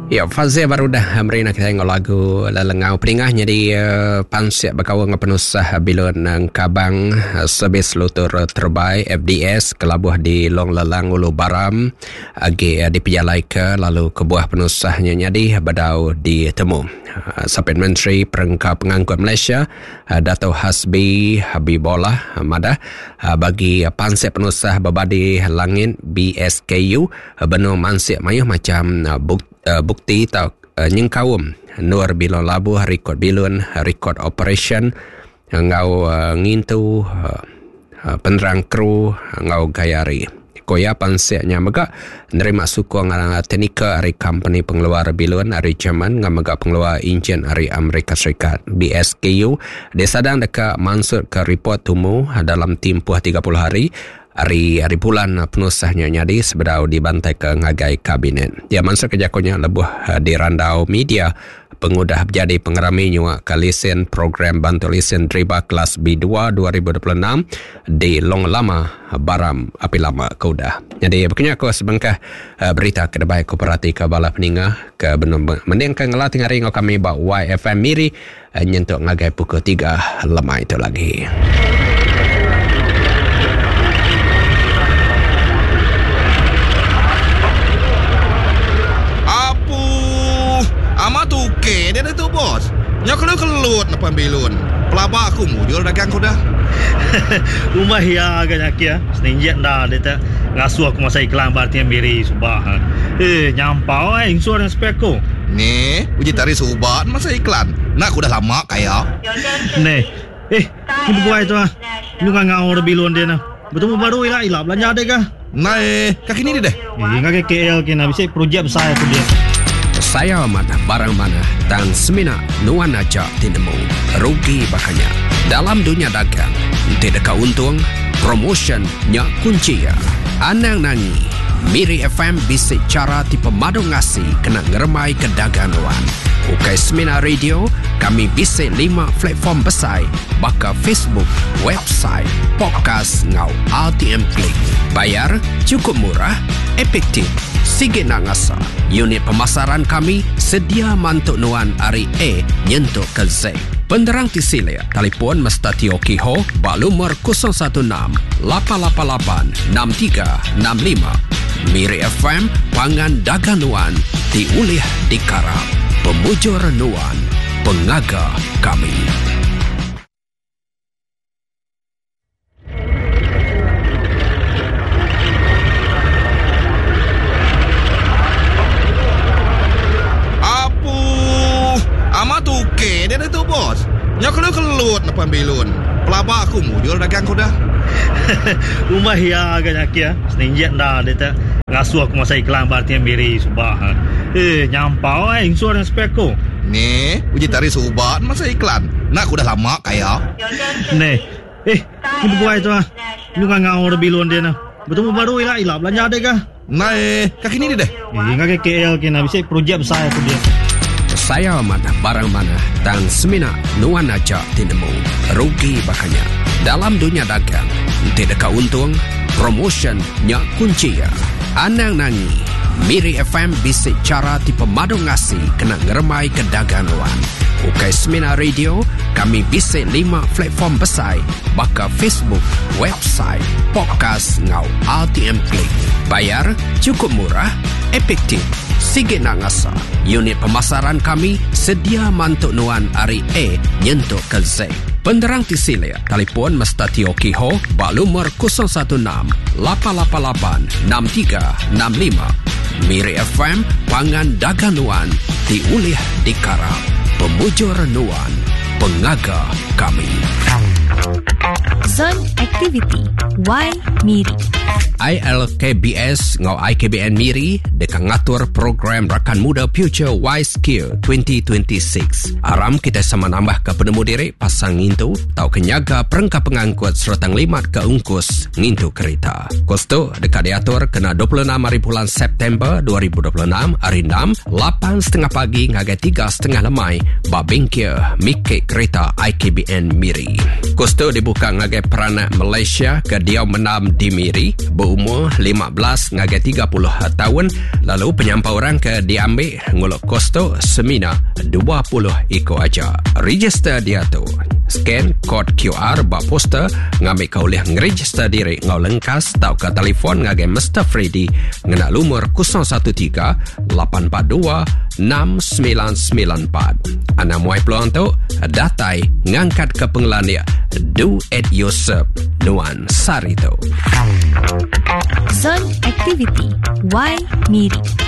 Ya, Fazil baru dah meri nak kitai enggau lagu Lelengau Peningah nyadi uh, pansik bekaul enggau penusah bilun Engkabang uh, servis lutur terbai FDS kelabuh di Long Lelang Ulu Baram agi uh, dipejalaika lalu kebuah penusahnya nyadi bedau ditemu. Uh, Sapit Menteri Perengka Pengangkut Malaysia Dato Hasbi Habibollah madah bagi pansik penusah bebadi langit BSKU benung mansik mayuh macham bukti tau nyengkaum endur bilun labuh, rikod bilun, rikod operasyen enggau ngintu penerang kru enggau gaya hari. Ku iya, pansik nya mega nerima sukung teknikal ari kompeni pengeluar bilun ari Jerman enggau mega pengeluar injin ari Amerika Serikat. BSKU disadang deka mansutka ripot tumu dalam timpuh 30 hari ari hari bulan penusah nya nyadi sebedau dibantaika ngagai kabinet. Iya mansutka jaku nya lebuh dirandau media Pengudah bejadi pengerami nyuaka lisen Program Bantu Lisen Deriba Kelas B2 2026 di Long Lama, Baram, api lama ke udah. Nyadi baka nya ku sebengkah berita ke debai ku peratika bala peninga ke benung mendingka ngela tengah hari enggau kami ba YFM Miri nyentuk ngagai pukul tiga lemai tu lagi. Apu. Amat tukey dia ditu bos. Nyau kelu kelut nepan bilun. Pelaba aku mujur dagang ku dah. Umbah iya ga nya kia. Seninjik enda dia te ngasuh aku masa iklan ba RTM Miri suba. Eh nyampau ai insur nya spek aku. Ni uji tari suba ne masa iklan. Enda ku dah lama kaya. Neh. Eh, ni beguai tu ah. Nyu ngangau da bilun dia nah. Betemu baru ila ila belanja dek kah. Nai, ka kini deh. Eh, ngagai KL kina bisi projek besai aku dia. Sayau amat barang manah tang semina nuan aja ti nemu. Rugi baka nya. Dalam dunya dagang, enti deka untung, promotion nya kunchi iya. Anang nangi, Miri FM bisi chara ti pemadu ngasi kena ngerembaika dagang nuan. Ukai semina radio, kami bisi lima platform besai baka Facebook, website, podcast enggau RTM Click. Bayar chukup murah, efektif, sigi enda ngasa. Unit pemasaran kami sedia mantu nuan ari A nyentuk ke Z. Penerang ti silik, telefon Mesta Teo Kee Ho ba lumur 016 888 6365. Miri FM pangan dagang nuan ti ulih dikarap. Pemujur nuan, pengaga kami. Apu. Amat tukey dia ditu bos. Nyau kelut kelut nepan bilun. Pelaba aku mujur dagang ku dah. Umbah iya ga nya kia. Seninjik enda dia te ngasuh aku masa iklan ba RTM Miri suba. Eh nyampau ai insur nya spek ku. Neh uji tari suba masa iklan. Enda ku dah lama kaya. Neh. Eh, ni beguai tu ah. Nyu ngangau da bilun dia nah. Betemu baru ila ila belanja dek ah. Ndai, ka kini deh. Eh, ngagai KL kina bisi projek besai aku dia. Sayau amat barang manah tang semina nuan aja ti nemu. Rugi baka nya. Dalam dunya dagang, enti deka untung, promotion nya kunchi iya. Anang nangi, Miri FM bisi chara ti pemadu ngasi kena ngerembaika dagang nuan. Ukai semina radio, kami bisi lima platform besai baka Facebook, website, podcast enggau RTM Click. Bayar chukup murah, efektif, sigi enda ngasa. Unit pemasaran kami sedia mantu nuan ari A nyentuk ke Z. Penerang ti silik, telefon Mesta Teo Kee Ho ba lumur 016 888 6365. Miri FM pangan dagang nuan ti ulih dikarap. Pemujur nuan, pengaga kami. Zon Aktiviti Y Miri. ILKBS enggau IKBN Miri deka ngatur program Rakan Muda Future Y Skill 2026. Aram kitai sama nambahka penemu diri pasal ngintu tauka nyaga perengka pengangkut sereta ngelimatka ungkus ngintu kerita. Kus tu deka diatur kena 26 hari bulan September 2026 hari enam, lapan setengah pagi ngagai tiga setengah lemai ba bengkel Miki Kereta IKBN Miri. Kus tu dibuka ngagai peranak Malaysia ke diau mendam di Miri, beumur. beumur 15 ngagai 30 taun lalu penyampau orang ke diambi ngulu kos tu semina 20 iku aja. Register diatu. Scan kod QR ba poster ngambika ulih ngeregister diri enggau lengkas tauka telefon ngagai Mister Freddy ngena lumur 013 842 6994. Anang muai peluang tu datai ngangkatka pengelandik do it yourself nuan sehari tu. Zon Aktiviti Y Miri.